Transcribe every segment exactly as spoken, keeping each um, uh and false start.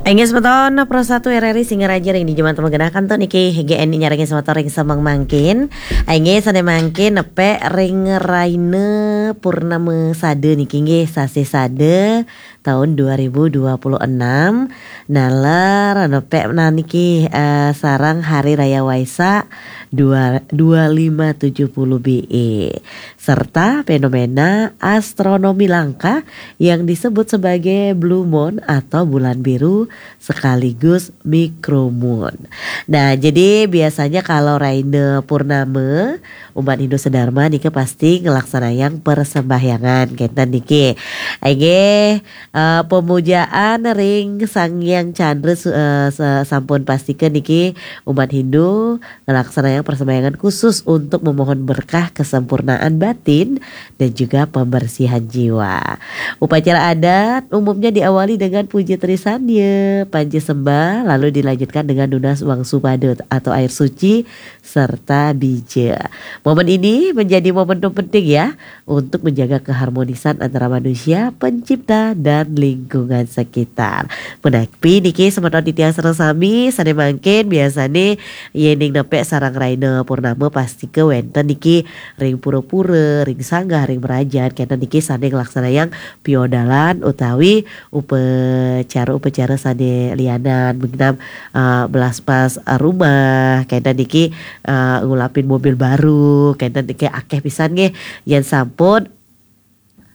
Inggih semeton Pro satu R R I Singaraja ring dija manten magenah kantun niki G N I nyarengin semeton ring semeng mangkin. Inggih sane mangkin nepek ring raina purnama sada niki nggih sasih sada taun dua ribu dua puluh enam. Naler nepek nah niki eh, sareng Hari Raya Waisak dua, dua lima tujuh puluh B E serta fenomena astronomi langka yang disebut sebagai blue moon atau bulan biru sekaligus micromoon. Nah, jadi biasanya kalau raina purnama, umat Hindu sedharma nika pasti ngelaksanayang persembahyangan kenten niki. Inggih, eh, pemujaan ring Sang Hyang Chandra su- eh, se- sampun pastika niki umat Hindu ngelaksanayang persembahyangan khusus untuk memohon berkah kesempurnaan batin dan juga pembersihan jiwa. Upacara adat umumnya diawali dengan puja trisanya, panca sembah, lalu dilanjutkan dengan nunas wangsu pada atau air suci serta bija. Momen ini menjadi momentum penting ya untuk menjaga keharmonisan antara manusia, pencipta, dan lingkungan sekitar. Menawi niki semeton titiang sareng sami sane mangkin biasane yening nepek sareng raina purnama pastika wenten niki ring pura-pura, ring sanggah, ring merajan, kenten niki sane nglaksanayang piodalan utawi upacara-upacara sane lianan, mungkin uh, belaspas uh, rumah, kenten niki uh, ngulapin mobil baru, kenten niki akeh pisan nggih yen sampun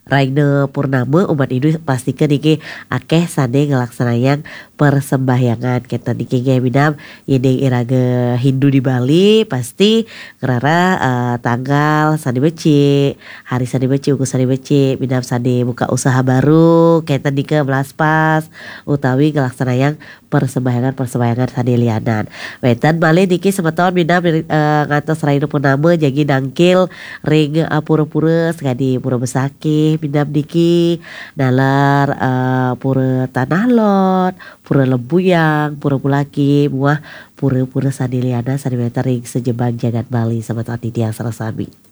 raina purnama umat Hindu pastika niki akeh sane nglaksanayang persembahyangan kenten niki nggih minab yening iraga Hindu di Bali pasti ngrara uh, tanggal sane becik, hari sane becik, uku sane becik, minab sane buka usaha baru kenten nika melaspas utawi nglaksanayang persembahyangan-persembahyangan sane lianan. Wenten malih niki semeton minab eh, ngantos raina purnama jagi nangkil ring eh, pura-pura sakadi Pura Besakih minab niki naler eh, Pura Tanah Lot, Pura Lembuyang, Pura Pulaki muah pura-pura sane lianan sane wenten ring sajebag jagat Bali semeton titiang sareng sami.